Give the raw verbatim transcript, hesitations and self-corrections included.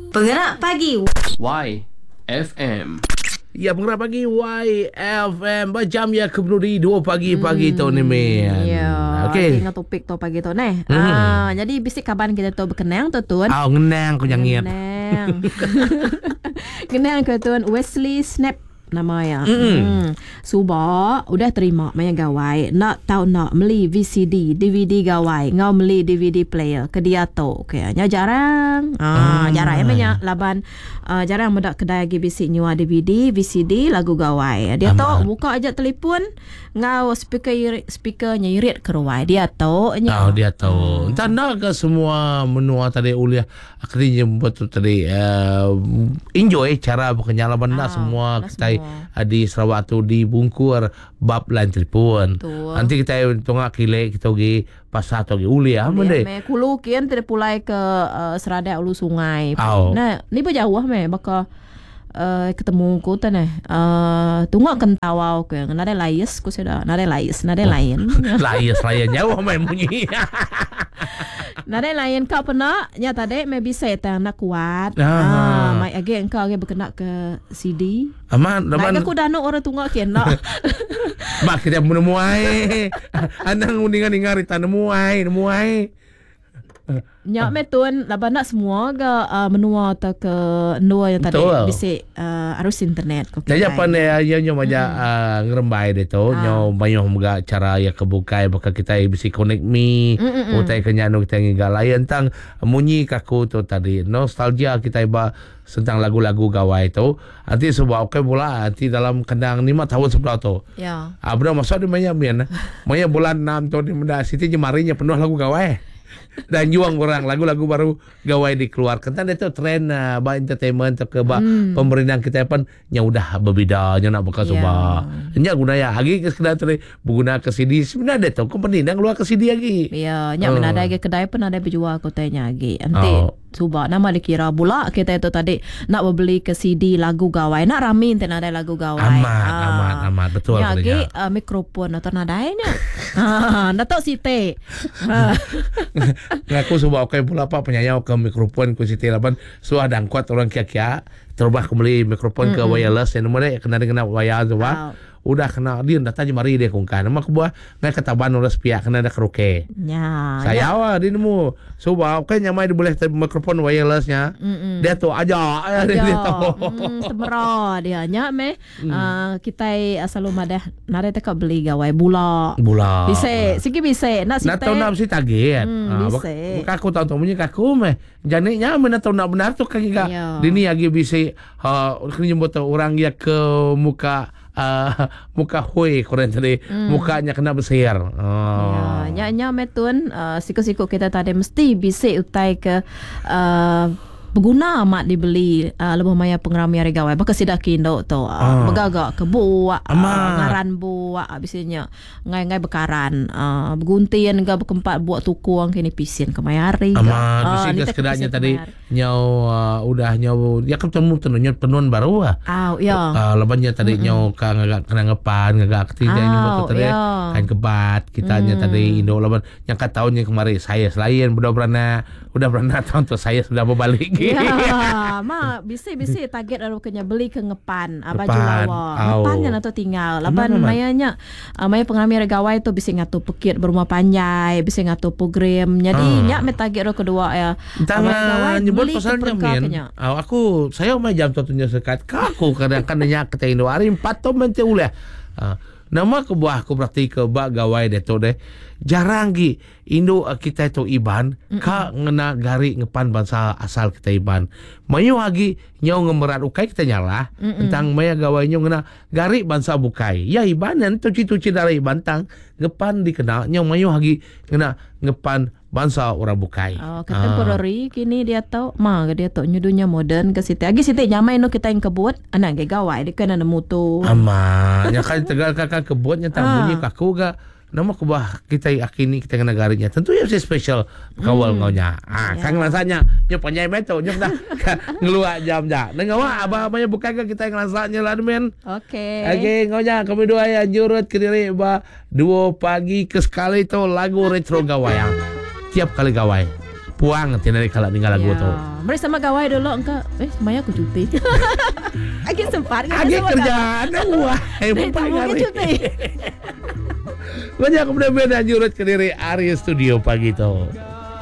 Pengerak Pagi Y F M. Ya, Pengerak Pagi Y F M. Jam ya ke penudi dua pagi hmm, pagi tu ni men. Ya. Okey. Dengan topik tu pagi tu neh. Hmm. Ah, jadi bisik kaban kita tu berkenang tu tuan. Ah, ngenang ku nyangit. Ngenang. Ngenang ke tuan Wesley Snap nama ya. Mm. Hmm. Suba udah terima maya gawai nak tau nak meli V C D, D V D gawai, ngau meli D V D player ke dia tu. Okey, nya jarang. Ah, ah. jarang ya banyak laban uh, jarang medak kedai lagi bisik nyua D V D, V C D lagu gawai. Dia tu buka aja telefon ngau speaker speakernya irit keruai. Dia tu nya. Oh, dia tu. Hmm. Entah nak ke semua menua tadi uliah akhirnya betul tadi uh, enjoy cara bukannya laban nak Ah, semua nak kita semua. di Sarawak tu dibungkur bab lain telefon. Betul. Nanti kita tongak kile kita pergi pasar tu pergi uliah Boleh, mende. me kulu kian tidak pulai ke uh, Seradak ulu sungai. Au. Nah, ni berjauh me baka uh, ketemu ku tu neh. Uh, tunggu kentawau ke nada lais ku sudah nada lais nada lain. Lais lain jauh main bunyi. Nada lain kau pernah nya tadi me bisa tang nak kuat. Ah. Ah, mai age engkau age berkena ke C D. Aman, Naik aman. aku dah nak orang tunggu kian nak. Mak kita menemuai. Anang undingan-ingan rita nemuai, nemuai. Nyak me tuan laban nak semua ke uh, menua atau ke ndua yang tadi bisik uh, arus internet ko. Jadi apa ni ya nyo banyak uh, ngerembai dia tu, Ah. nyo banyak juga cara ya kebukai bakal kita bisi connect me, utai kenyanu kita ngiga lain tentang munyi kaku tu tadi nostalgia kita iba tentang lagu-lagu gawai tu. Nanti sebab okey pula nanti dalam kendang lima tahun sebelah tu. Ya. Ah benar masuk di banyak mian. Maya bulan enam tu di benda siti jemarinya penuh lagu gawai. Dan juang orang lagu-lagu baru gawai dikeluarkan. Kan itu trend uh, ba entertainment atau ke ba Hmm. pemerintah kita pun nya udah berbeda nya nak buka Ya. cuba. Nya guna ya lagi ke sekedar tadi berguna ke C D sebenarnya ada tu company dah keluar ke C D lagi. Ya, nyak Oh. mana ada kedai pun ada berjual kotanya lagi. Nanti Oh. cuba nama dikira pula kita itu tadi nak berbeli ke C D lagu gawai. Nak rami nanti ada lagu gawai. Amat, amat, amat. Betul Ya, katanya. lagi uh, mikrofon atau nadainya. Ha, nak tahu site. Ha. Ngaku sebab okey pula pak penyayau ke mikrofon ku Siti laban suah dangkuat orang kia-kia terubah aku beli mikrofon ke wireless yang nombor dia kena kena wire tu Au. pak. Udah kena dia datang je mari dia kongkan. Nama aku buah ngai ketaban orang sepiak kena ada karaoke. Ya. Saya awak dia nemu. Sebab kan nyamai dia boleh mikrofon wirelessnya. Mm-mm. Dia tu aja dia, dia tu. Hmm, temera dia nya meh. Mm. Uh, kita selalu madah nare tekak beli gawai bula. Bula. Bisa, sigi bisa. Nak Nak site. tahu nak mesti target. Hmm, Ah, bisa. bak- bak- aku tahu tahu punya kaku meh. Janiknya mana tahu nak benar tu kan juga. Ya. Dini lagi bisa ha kena jemput orang ya ke muka uh, muka hui kurang tadi Hmm. mukanya kena bersihir. Oh. Ya, nya nya metun uh, siku-siku kita tadi mesti bisa utai ke uh, berguna amat dibeli uh, lebuh maya pengerami hari gawai. Baka sidak kindo tu. Uh, Ah. Begagak ke buak, uh, Amat. ngaran buak bisanya ngai-ngai bekaran, uh, berguntian ke berkempat buak tukung kini pisin ke mayari. Amat Ah, bisi ni ke tak sekedarnya pisin tadi ke mayari. nyau uh, udah nyau ya ketemu tenunnya tenun baru ah. Aw, ya. Uh, lebannya tadi mm-hmm. nyau ka ngagak kena ngepan ngagak ketiga Aw, nyebut tadi ya. kain kebat kitanya mm. tadi indo laban yang kat tahunnya kemarin saya selain udah beranak udah beranak tahun tu saya sudah berbalik. Ya, ma bisi bisi target lalu kena beli ke ngepan, ah, baju Ngepan, lawa. au. Ngepannya atau tinggal. Laban Aman, aman. mayanya ah, maya pengambil gawai tu bisi ngatu pekit berumah panjai, bisi ngatu program. Jadi Ah. nyak me target ro kedua ya. Ah, maya gawai Tangan nyebut beli ke pasal perka nyamin. kenya. Oh, aku saya mai jam tu tunjuk sekat. Aku kadang-kadang nanya ke Indo hari empat tu mente ulah. Ah, nama ke buah aku berarti ke bak gawai deh tu deh. Jarang gi Indo eh, kita tu Iban mm-mm. ka ngena gari ngepan bangsa asal kita Iban. Mayu lagi nyau ngemerat ukai kita nyalah mm-mm. tentang maya gawai nyau ngena gari bangsa bukai. Ya Iban yang tuci-tuci dari Iban tang ngepan dikenal nyau mayu lagi ngena ngepan bangsa orang bukai. Oh, contemporary kini dia tahu ma ke dia tahu nyudunya moden ke situ. Agi situ nyamai no kita yang kebut, anak ge gawai dia kena nemu tu. Aman. Ya kan tegal kakak kebutnya tak Ah. bunyi kaku ga. Nama kubah kita yakini kita kena garinya. Tentu ya mesti special kawal hmm. ngaunya. Ah, Ya. kan ngelasanya. Nyo panjai beto nyo dah ngeluak jam ja. Neng awak abah abahnya bukan ke kita ngelasanya lah men. Okey. Okey, ngaunya kami dua ya jurut ke diri ba dua pagi ke sekali tu lagu retro gawai. ah. Tiap kali gawai. Puang ti nadai kala ninga lagu Ya. tu. Meri sama gawai dulu engka. Eh, maya aku cuti. Agi sempat kan Agi sama kerja ada wah. gawai. Empat Mungkin hari. cuti. Banyak benda-benda jurut ke diri ari studio pagi tu.